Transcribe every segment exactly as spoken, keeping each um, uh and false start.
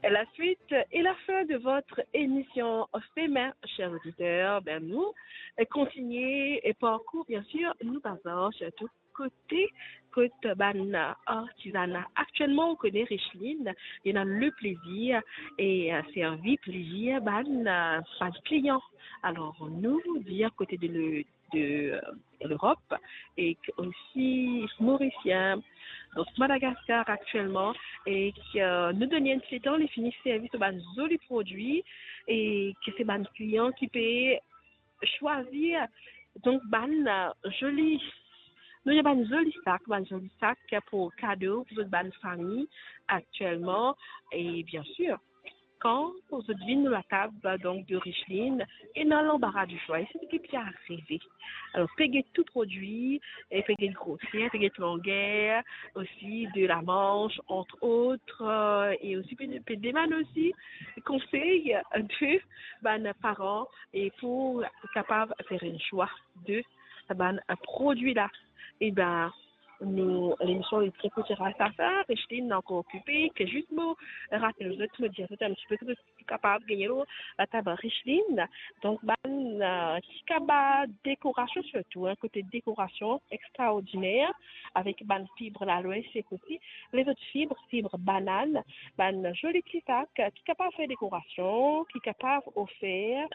La suite et la fin de votre émission Femain, chers auditeurs. Ben, nou, euh, kontinie e parkour, bien sûr, nou bazar sirtou kote, kot bann, euh, artizana. Aktielman, ou kone, Richline, li ena le plezir e, euh, servi plezir bann, euh, bann klian. Alor, nou, dir kote de le, de, euh, Lerop, e ki osi Morisien, donk Madagaskar aktielman, e ki, euh, nou donn li enn ti letan, li fini servi so bann zoli prodwi, e ki se bann klian ki pe swazir, donk, bann, euh, zoli, nou ena bann zoli sak, bann zoli sak pou kado pou zot bann fami aktielman, e bien sûr, kan zot vinn lor latab, donk, de Richline, ena lanbara di swa, e se seki pe arive. Alor, pe get tou prodwi, e pe get groser, pe get langer, osi de la manch, entre autres, euh, e osi pe, pe demann osi konsey de bann paran e pou kapav fer enn swa de bann prodwi la. E ben, nou, lemision li tre kout ras a sa, Richline ankor okipe, ke zis mo rapel zot, mo dir zot enn ti pe ki zot kapav gagne lor latab Richline. Donk, bann, euh, ti kaba dekorasion sirtou, hein, kote dekorasion extraordiner, avek bann fib lalwes e osi lezot fib, fib banann, bann zoli ti sak ki kapav fer dekorasion, ki kapav ofer,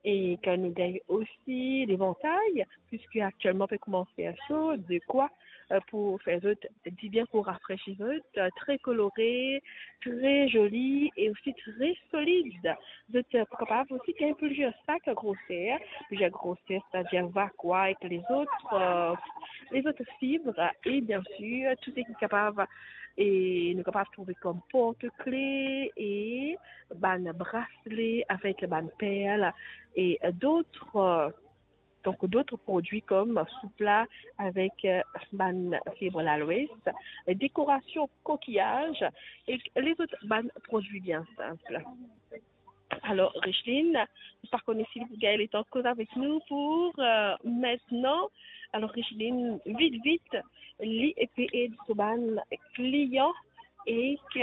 e ki nou gagn osi levantay, piski aktielman pe koumans fer so, dekwa, euh, pou fer zot dibien, pou rafresi zot, euh, tre kolore, tre zoli e osi tre solid. Zot, euh, pou kapav osi gagn plizier sak groser, plizier groser, setadir vakwa ek lezot, euh, lezot fib, e bien sûr, tou seki kapav, e nou kapav trouve kom portkle e bann brasle avek bann perl e, euh, dot, euh, donk, dot prodwi kom soupla avek, euh, bann fib lalwes, dekorasion kokiyaz e lezot bann prodwi bien sinp. Alor, Richline, mo pa kone si li pou gagn letan koz avek nou pou, euh, mintnan. Alor, Richline, vit, vit, li pe ed so bann klian e